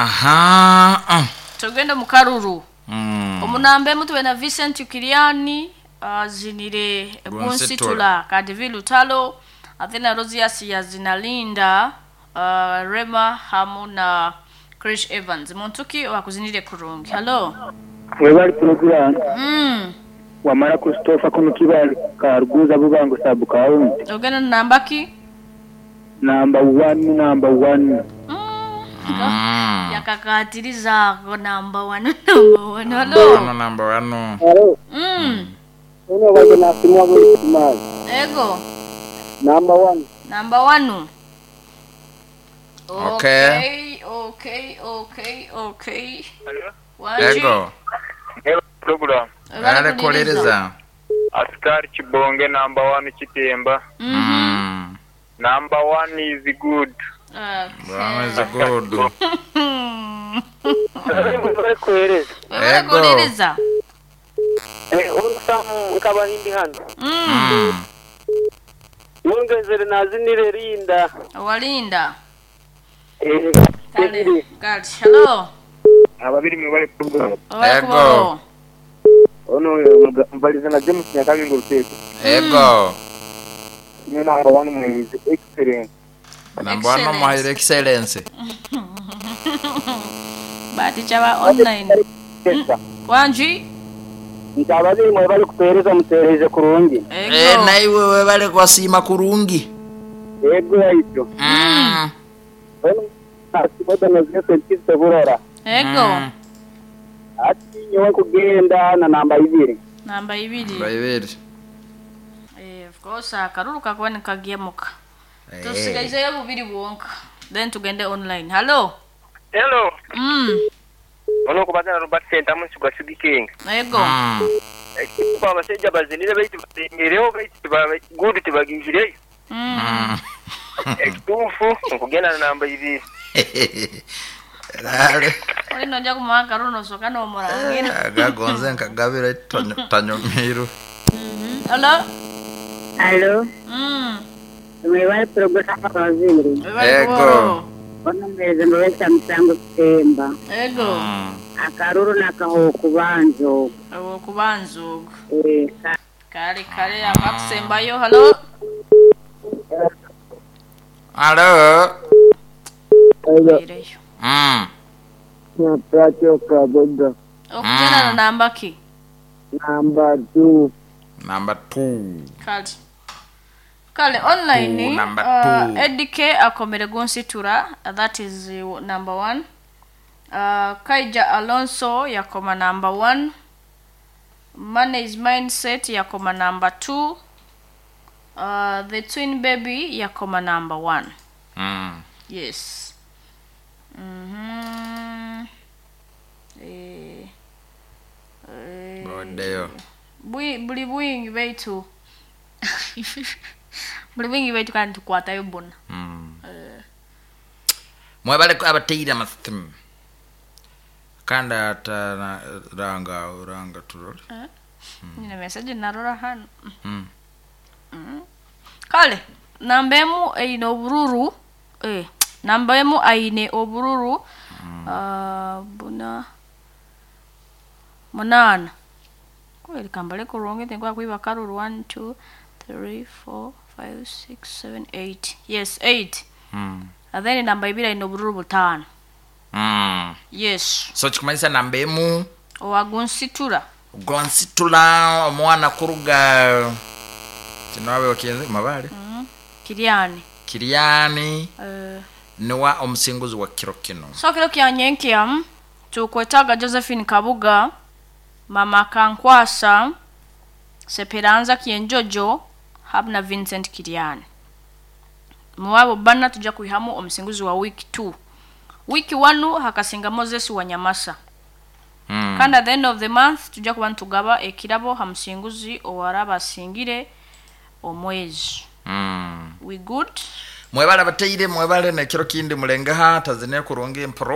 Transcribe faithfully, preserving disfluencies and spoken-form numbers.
Aha. Ah. Tugende mu karuru. Mm. Omunamba emu tube na Vincent Kiriani azinire Gunsitula. Gunsitula Kadivi Lutalo Athena Rosius yazinalinda uh, Rema hamu na Chris Evans. Muntu ki wakuzinire kurungi? Hello. Webali program. Mm. Wamara Christopher kuno Kibali Karuguza Bubango sub county. Ogenda namba ki? Number one, number one. Mm. Mm. Yakakatiriza ako number one, number one. Hello. Ano number one. Hello. Mm. Uno waje na simwa buli kumali. Ego. Number one. Number one. Okay. Okay, okay, okay, okay. Wanji. Ego. Program. Ale kuwuliriza. Askari Kibonge number one Kitemba. Mhm. Mm. Number one is good. Okay. One is good. Bari kuhereza. Webale Ego. kuwuliriza. Eh, urusamu nkabahindi hano. Mm. Mm. Wongezere nazinire rinda. Walinda. Eh, Kale. Kale. Hello. Ababiri mwe bali program. Webale Ego. kubaho. Ono mbaliza na James Nyakabingo Ruteko. Ego. Ni number one mwizi excellent. Number one Excellence. muhaire excellence. Bahati chaba online. Wanji. Nti ababiri mwe bali kutuhereza mutuhereze kurungi. Ego. Eh, naiwe webale kwasiima kurungi. Ego yaityo. Mm. Ono na Vincent Kizito Burora. Ego. Mm. Ati nyowe kugenda na namba ibiri. Namba ibiri. Ibiri. Eh, of course akaruru kakuba nikagemuka. Eh. Tusigaizeyo bubiri bwonka. Then tugende online. Hello. Hello. Mm. Ono kubaza na Robert Sentamu Sugar Sugar King. Ego. Mm. Kuba abasajja bazinire baitu basengereho baitu tiba- good tibagingireyo. Mm. Mm. Ekituufu nkugenda na namba ibiri. Lale. Oli nojja kumuha akaruru nosooka n'omurangira. Agagonze nkagabira tanyo- tanyomiru. Hello. Alo, Mm. mwebale program abazindi. Webale Ego. kubaho. Ono mwereze mbawesa musango kutemba. Ego. Mm. Akaruru nakaho kubanza ogu. Awo kubanza ogwo. Eh, ka- Kale kale akakusembayo. Hello. Hello. Ireyo. Mm. Pacho Kaboga. Okugenda na namba ki? Number two. Number two. Kale. Kale online Two, number uh, two. Eddie K akomere Gunsitura, uh, that is uh, number one. Uh, Kaija Alonso yakoma number one. Money is Mindset yakoma number two. Uh, the Twin Baby yakoma number one. Mm. Yes. Mhm. Eh, eh, Boddeyo. bwi- buli bwingi baitu buli bwingi baitu kandi tukwatayo buna. Mm. Mwebale abateire amasimu. Kandi ata na- ranga ranga turole. Nyine message narora hano. Mm. Kale namba emu eine obururu, eh, namba emu aine obururu uh, buna munaana kweri kambale kurungi tinkwa kwiba karuru one two three four five six seven eight, yes, eight. Mm. And then namba ibiri aine obururu butaano. Mm. Yes. So kikumanyisa namba emu Owagunsitura. Gonsitula omwana kuruga kino abe wakienze mabale. Kiriani. Kiriani uh, niwa omusinguzi wa kiro kino. So kiro kya nyenkya tukwetaga Josephine Kabuga, Mama Kankwasa, Seperanza Kienjojo hamu na Vincent Kiriani. Muwabo bana tujja kwihamu omusinguzi wa week two. Week one hakasinga Moses Wanyamasa. Mm. Kandi at the end of the month tujja kuba nitugaba ekirabo ha musinguzi owaraba asingire omwezi. Mm. We good. Mwebale abateire, mwebale nekiro kindi mulengaha tazine kurungi mpro.